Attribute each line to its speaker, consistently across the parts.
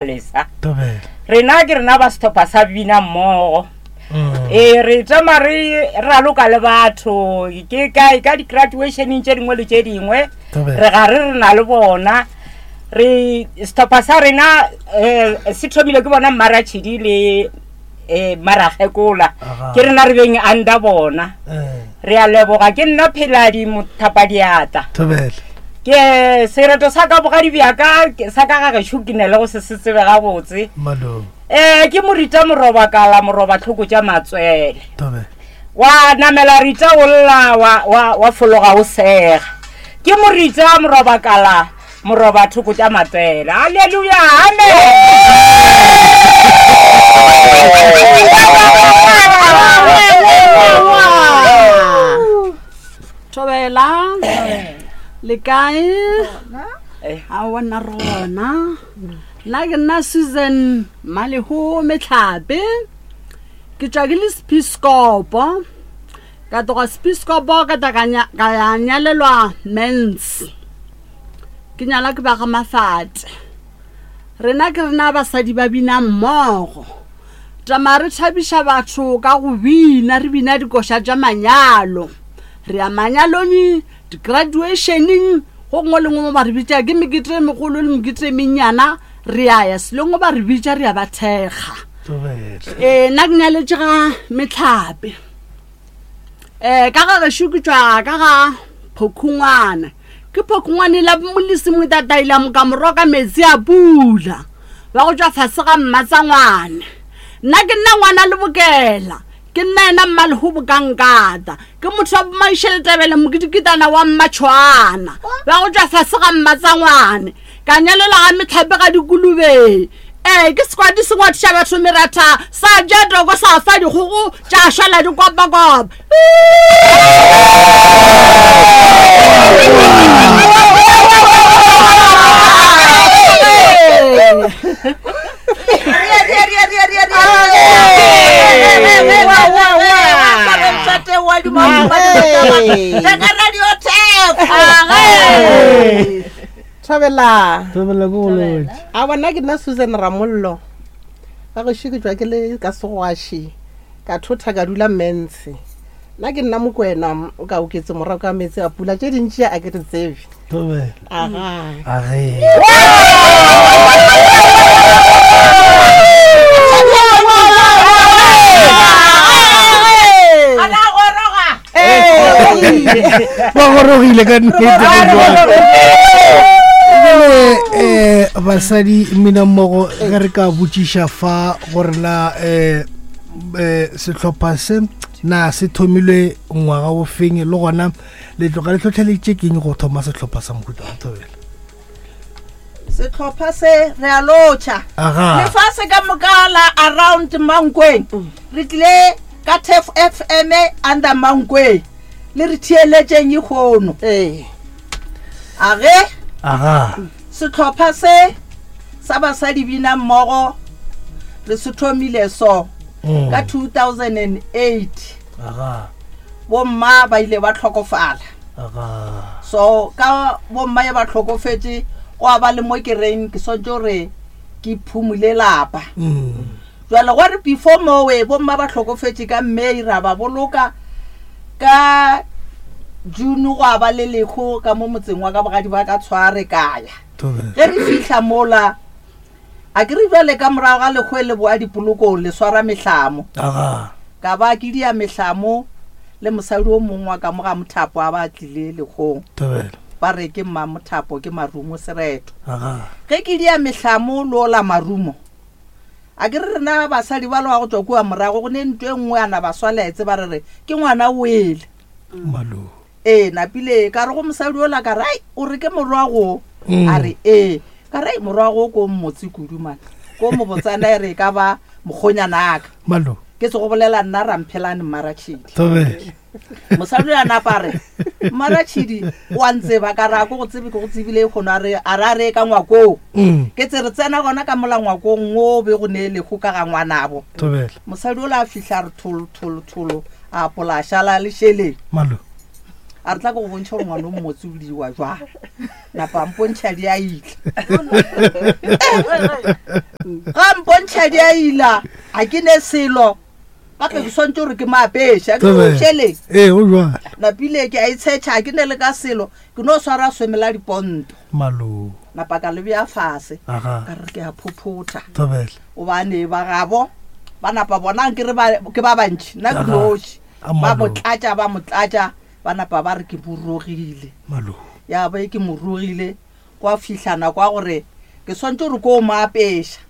Speaker 1: Lesa. Rena ke rena ba sehlopha sa bina mmogo. Mm. Ee, re tšama re raloka le batho ke kae ka di-graduationeng tše dingwe le tše dingwe re ga re re na le bona re sehlopha sa rena um se thomile ke bona mmaratšhidi le um mmarakgekola ke rena re beng under bona eh. Re a leboga ke nna Pheladi Mothapadiatla.
Speaker 2: Thobela.
Speaker 1: Ke sereto sa ka bogadi bja ka sa ka ga gešo ke ne le go se se tsebe gabotse.
Speaker 2: Malome.
Speaker 1: Eh ke morita moroba kala moroba tlhoko tša matswele.
Speaker 2: Thobela.
Speaker 1: Wa namela rita o lla wa wa wa fologa o sega. Ke morita moroba kala moroba thoko tša matswele. Haleluya. Amen.
Speaker 3: Thobela le kae aowa nna re gona nna ke nna Susan Maleho Metlhape ke tšwa ke le Sepiskopo ka tloga Sepiskopo ka tla ka ya nyalelwa Mens Ke nyala ke ba ga Mafate. Rena ke rena basadi ba bina mmogo. Tama re thabiša batho ka go bina, re bina dikoša tša manyalo. Re ya manyalong, di-graduationeng, go gongwe le gongwe mo ba re bitša ke mekete e megolo le mekete e mennyana, re a ya selong ba re bitša re ya ba thekga. Ee, nna ke nyaletše ga Mehlape. um ka ga gešo ke tšwa ka ga phokhungwana ke phokhungwane la molesi motataila mokamoro ka metsi a pula ba go tšwa fase ga mmatsangwane nna ke nna ngwana le bokela ke nna yena mmalehobo ka nkata ke motho wa bomaišeletebele mokidikitana wa mmatšhwana ba go tšwa fase ga mmatsangwane Ka nyalela ga mehlape ga dikulube. Ee, ke sekwadi se ngwathiša batho meratha, sa ja toko sa fa dikgogo tša šala di kopakopa.
Speaker 4: Thobela.
Speaker 2: Thobela ko go lotše.
Speaker 4: A bona ke nna Susan Ramollo. Ga gešo ke tšwa ke le ka Segwaši ka thotha ka dula Mentshe. Nna ke nna Mokwena o ka oketse morago ka meetse a pula tše dintši a ke di tsebe.
Speaker 2: Thobela.
Speaker 4: Aga.
Speaker 2: Age. Ba gorogile ka nnete jale um basadi mmina mmogo ge re ka botšiša fa gore na um um sehlopha se na se thomilwe ngwaga o feng le gona le tloga le hlohleleditše keng go thoma sehlopha sa mohuta wa thobela
Speaker 5: Sehlopha se re a lotšha.
Speaker 2: Aga.
Speaker 5: Lefase ka moka la around Mankweng. Re tlile ka Turf FM under Mankweng. Le re theeletšeng ikgono.
Speaker 4: Ee.
Speaker 5: Age.
Speaker 2: Aga.
Speaker 5: Sehlopha se sa basadi bina mmogo re se thomile so mm. ka 2008.
Speaker 2: Aga.
Speaker 5: Bomma ba ile ba hlokofala. So ka bomma ye ba hlokofetše gwa ba le mo ke reng ke swantše gore ke phumule lapa. Jwale gwa re before mowe bomma ba hlokofetše ka May ra ba boloka ka June gwa ba le lehu ka mo motseng wa ka bogadi ba ka tshware ka ya. Ge re fihla mola A ke re bjale ka morago ga lekgoe le boa dipolokong le swara mehlamo.
Speaker 2: Aga.
Speaker 5: Ka ba ke dia mehlamo le mosadi o mongwe wa ka mo ga Mothapo a ba tlile lekgong.
Speaker 2: Thobela.
Speaker 5: Ba re ke mma Mothapo ke Marumo Sereto.
Speaker 2: Aga.
Speaker 5: Ge ke dia mehlamo le ola Marumo. A ke re rena basadi ba le wa go tšwa kua morago go ne ntho e nngwe a na ba swaletse ba re re ke ngwana o wele.
Speaker 2: Malo.
Speaker 5: Ee, napile ka re go mosadi ola ka re ai o re ke morwa go mm. a re ee ka re morwa go ko mmotse kudu man ko mobotsana e re e ka ba mokgonyana aka
Speaker 2: malo
Speaker 5: ke se go bolela nna ramphelane mmaratšhidi
Speaker 2: Thobela
Speaker 5: mosadi a napa re mmaratšhidi o a ntseba ka re a ko go tsebe ke go tsebile e kgono a re a re a re ka ngwakong
Speaker 2: mm.
Speaker 5: ke tse re tsena gona ka mola ngwakong o be go ne lego ka ga ngwanabo
Speaker 2: Thobela
Speaker 5: mosadi ola a fihla re tholo tholo tholo a apola a šala le šeleng
Speaker 2: malo.
Speaker 5: A re tla ke go bontšha gore ngwana o mmotse o diwa jwang. Napa a mpontšha di a ila. Ga mpontšha di a ila, a ke ne selo. Gape ke swantse gore ke mo apeše. A ke re o šeleng.
Speaker 2: Ee, go jwalo.
Speaker 5: Napile ke a itshetšha, a ke ne le ka selo. Ke no swara sweme la diponto.
Speaker 2: Malo.
Speaker 5: Napa ka le bea fase. Ka re ke a phophotha.
Speaker 2: Thobela.
Speaker 5: Gobane ba gabo ba napa bona ke re ba ke ba bantši, nna ke noši. Ba mo tlatša, ba mo tlatša, ba napa ba re ke mo rogile.
Speaker 2: Malo.
Speaker 5: Ya ba ke mo rogile, gwa fihla nako ya gore ke swantše gore ko mo apeša.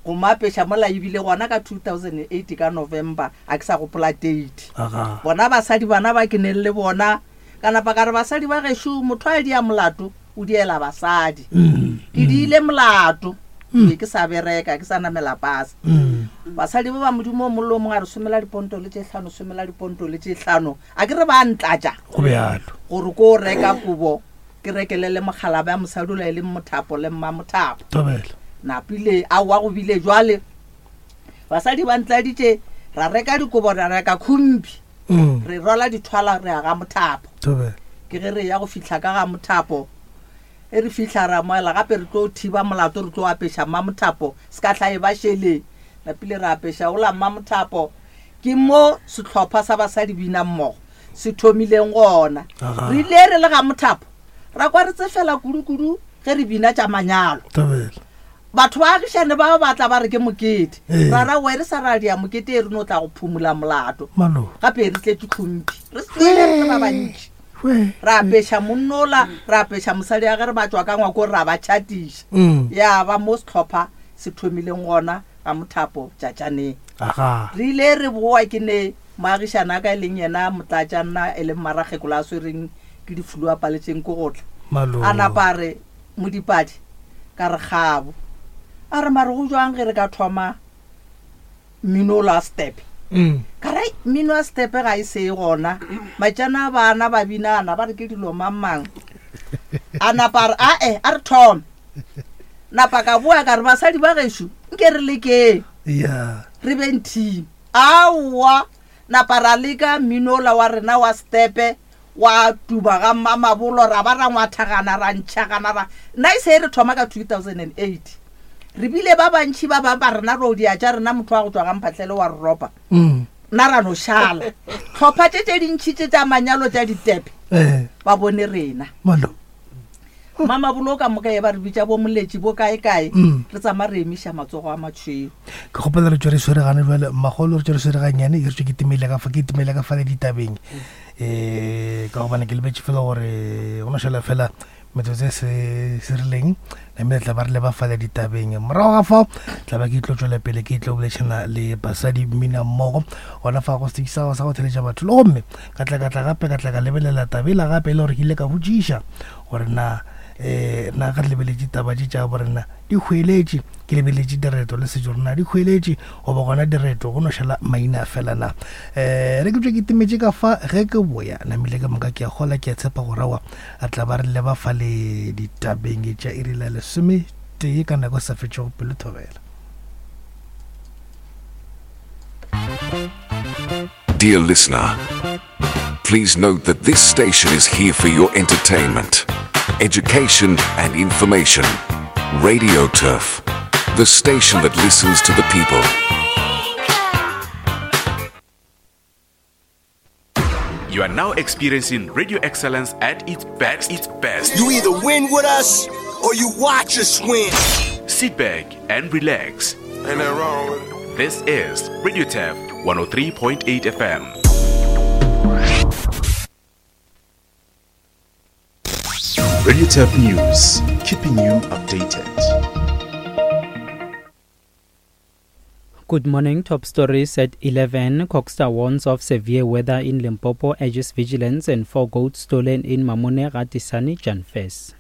Speaker 5: Go mo apeša mola ebile gona ka 2008 ka November, a ke sa gopola date. Bona basadi bana ba ke neng le bona, ka napa ka re basadi ba gešo motho a dia molato o diela basadi. Ke diile molato, ke be ke sa bereka, ke sa namela pasa. Basadi ba ba Modimo o mong le o mongwe a re somela diponto le tše hlano, somela diponto le tše hlano. A ke re ba ntlatša
Speaker 2: Go bjalo.
Speaker 5: gore ko reka kobo ke rekelele mokgalabje a mosadi ola e leng Mothapo le Mmamothapo.
Speaker 2: Thobela.
Speaker 5: Napile aowa go bile jwale basadi ba ntladitše ra reka dikobo ra reka khumpi re rwala dithwala re ya ga Mothapo.
Speaker 2: Thobela.
Speaker 5: Ke ge re ya go fihla ka ga Mothapo e re fihla ra moela gape re tlo thiba molato re tlo apeša Mmamothapo se ka hla e ba šeleng. Napile ra apeša ola Mmamothapo ke mo sehlopha sa basadi bina mmogo se thomileng gona. Re ile re le ga Mothapo ra kwa re tsefela kudu-kudu ge re bina tša manyalo. Batho ba agišane ba ba tla ba re ke mokete. Ra ra we re sa ra dia mokete e re no tla go phumula molato. Gape re tletše tlhomphi. Re sele re le ba bantši. Ra apeša monnola, ra apeša mosadi ya ge re ba tšwa ka ngwako ra ba tšhatiša. Ya ba mo sehlopha se thomileng gona ga Mothapo Tšatšaneng. Re ile re boa ke ne moagišane a ka e leng yena motlatša nna e leng mmarakgekolo a swereng ke difulu a paletšeng ke go tla. A napa a re Modipadi ka re kgabo. A re mare go jwang ge re ka thoma mmino ola wa stepe? Ka re mmino wa stepe ga e se e gona. Matšana a bana ba binana ba re ke dilo mang mang. A napa a re ae a re thome. Napa ka boa ka re basadi ba gešo nke re lekeng. Re beng team. Aowa napa ra leka mmino ola wa rena wa stepe wa tuba ga Mmamabolo ra ba ra ngwathagana ra ntšhagana ra nna e se e re thoma ka 2008 re bile ba bantši ba bang ba rena ro dia tša rena motho wa go tšwa ga Mphahlele wa re ropa nna ra no šala tlhopha tše tše dintšhi tše tša manyalo tša ditepe ba bone rena Mamabolo ka moka ye ba re bitša bo moletši bo kae kae mm. re tsama re emiša matsogo a matšhweu.
Speaker 2: Ke kgopela re tšwe re sweregane jwale magolo re tšwe re swere gannyane ke re tšwe ke timele ka fa ke timele ka fa le ditabeng um ka gobane ke lebetše fela gore go no šala fela metsotso e se se rileng namile tla ba re leba fale ditabeng morago ga fao tla ba ke tlo tšwela pele ke tlo bolešana le basadi mmina mmogo gona fa go setši sa go theletša batho le gomme ka tla ka tla gape ka tla ka lebelela tabela gape e le gore ke ile ka botšiša gore na um na ga re lebeletše taba tše tša borena di hweletše ke lebeletše direto le setšo rena di hweletše goba gona direto go no šala maina fela na um re ke tswe ke timetše ka fa ge ke boya namile ka moka ke a gola ke a tshepa go rawa a tla ba re leba fa le ditabeng tša iri la lesome tee ka nako e sa fetšego pelo thobela.
Speaker 6: Dear listener, please note that this station is here for your entertainment, education, and information. Radio Turf, the station that listens to the people.
Speaker 7: You are now experiencing radio excellence at its best. Its best.
Speaker 8: You either win with us or you watch us win.
Speaker 7: Sit back and relax.
Speaker 8: Ain't that wrong with it?
Speaker 7: This is Radio Turf 103.8 FM.
Speaker 6: Radio Turf News, keeping you updated.
Speaker 9: Good morning. Top stories at 11. CoGHSTA warns of severe weather in Limpopo, urges vigilance, and four goats stolen in Mamone Ratisani, Janfes.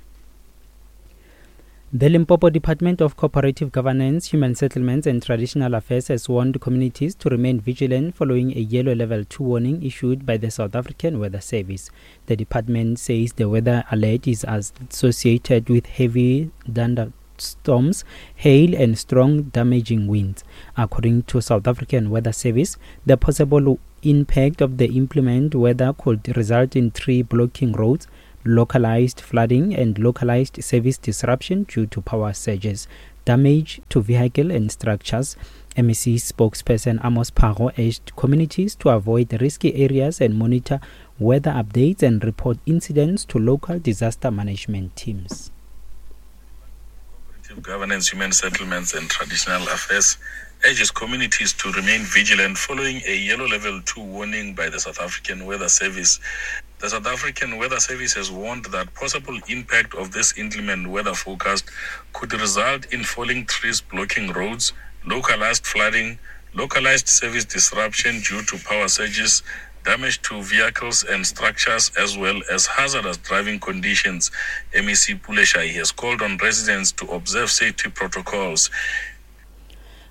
Speaker 9: The Limpopo Department of Cooperative Governance, Human Settlements and Traditional Affairs has warned communities to remain vigilant following a yellow level 2 warning issued by the South African Weather Service. The department says the weather alert is associated with heavy thunder storms, hail, and strong damaging winds. According to South African Weather Service, the possible impact of the inclement weather could result in tree blocking roads, localized flooding, and localized service disruption due to power surges, damage to vehicle and structures. MEC spokesperson Amos Phago urged communities to avoid risky areas and monitor weather updates and report incidents to local disaster management teams.
Speaker 10: Governance, Human Settlements and Traditional Affairs urges communities to remain vigilant following a yellow level 2 warning by the South African Weather Service. The South African Weather Service has warned that possible impact of this inclement weather forecast could result in falling trees blocking roads, localized flooding, localized service disruption due to power surges, damage to vehicles and structures, as well as hazardous driving conditions. MEC Pule Shayi has called on residents to observe safety protocols.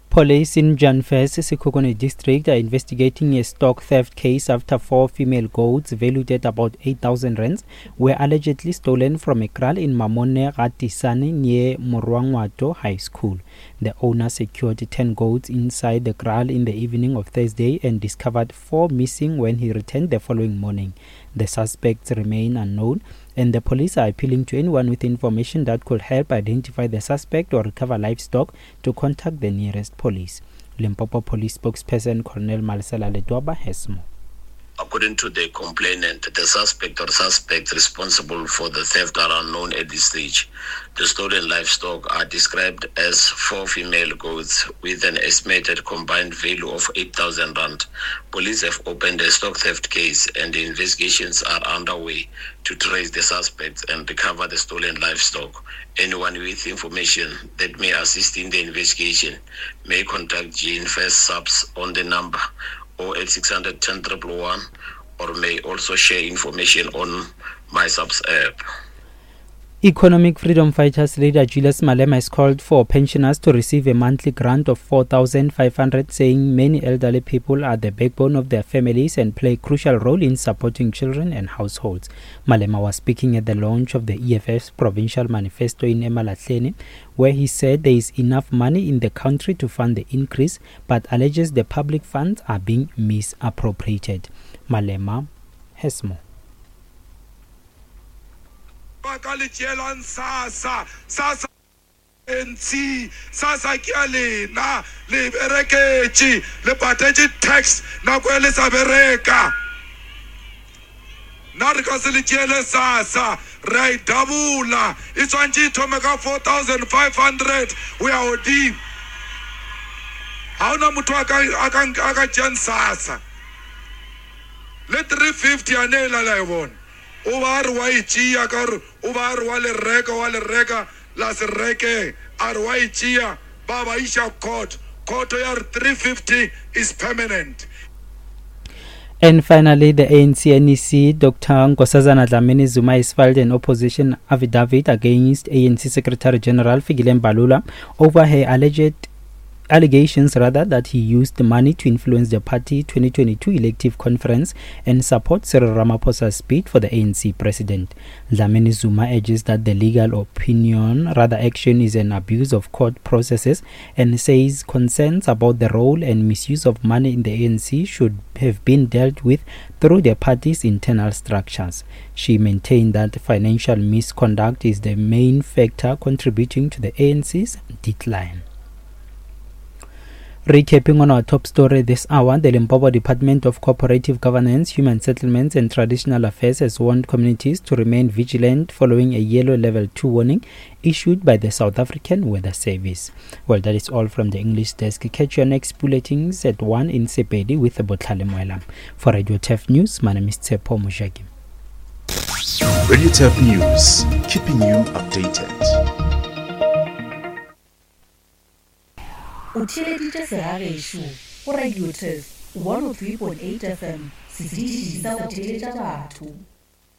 Speaker 9: Police in Janfes, Sekhukhune district are investigating a stock theft case after 4 female goats valued at about 8,000 rands were allegedly stolen from a kraal in Mamone Ratisane near Morwangwato High School. The owner secured 10 goats inside the kraal in the evening of Thursday and discovered 4 missing when he returned the following morning. The suspects remain unknown, and the police are appealing to anyone with information that could help identify the suspect or recover livestock to contact the nearest police. Limpopo Police spokesperson Colonel Malesela Ledwaba has more.
Speaker 11: According to the complainant, the suspect or suspects responsible for the theft are unknown at this stage. The stolen livestock are described as 4 female goats with an estimated combined value of 8,000 rand. Police have opened a stock theft case and the investigations are underway to trace the suspects and recover the stolen livestock. Anyone with information that may assist in the investigation may contact Jane First Subs on the number 08600 10 111, or may also share information on MySAPS app.
Speaker 9: Economic Freedom Fighters leader Julius Malema has called for pensioners to receive a monthly grant of 4,500, saying many elderly people are the backbone of their families and play a crucial role in supporting children and households. Malema was speaking at the launch of the EFF's provincial manifesto in Emalahleni, where he said there is enough money in the country to fund the increase, but alleges the public funds are being misappropriated. Malema has more.
Speaker 12: Ba ka le tšeelang SASSA, SASSA NC, SASSA ke ya lena, le bereketše, le patetše tax nako e le sa bereka. Nna re ka se le tšeele SASSA, re a e double-a, e tshwantše e thome ka 4,500 o ya godimo. Ga ona motho a ka tšeang SASSA. Le 350 a ne e la la e bona. O ba re wa e tšea ka gore o ba re wa le reka, wa le reka, la se reke, a re wa e tšea, ba ba iša court. Court ya re 350 is permanent.
Speaker 9: And finally, the ANC NEC, Dr. Nkosazana Dlamini Zuma, has filed an opposition affidavit against ANC Secretary General Fikile Mbalula over her alleged allegations rather that he used money to influence the party 2022 elective conference and support Cyril Ramaphosa's bid for the ANC president. Dlamini Zuma urges that the legal opinion, rather action, is an abuse of court processes and says concerns about the role and misuse of money in the ANC should have been dealt with through the party's internal structures. She maintained that financial misconduct is the main factor contributing to the ANC's decline. Recapping on our top story this hour, the Limpopo Department of Cooperative Governance, Human Settlements and Traditional Affairs has warned communities to remain vigilant following a yellow level 2 warning issued by the South African Weather Service. That is all from the English desk. Catch your next bulletins at 1 in Sepedi with Botlhale Moelam. For Radio Turf News, my name is Tsepo Mojaki.
Speaker 7: Radio Turf News, keeping you updated.
Speaker 13: O theeleditše segagešo go Radio Turf 103.8 FM, setiši sa go theeletša batho.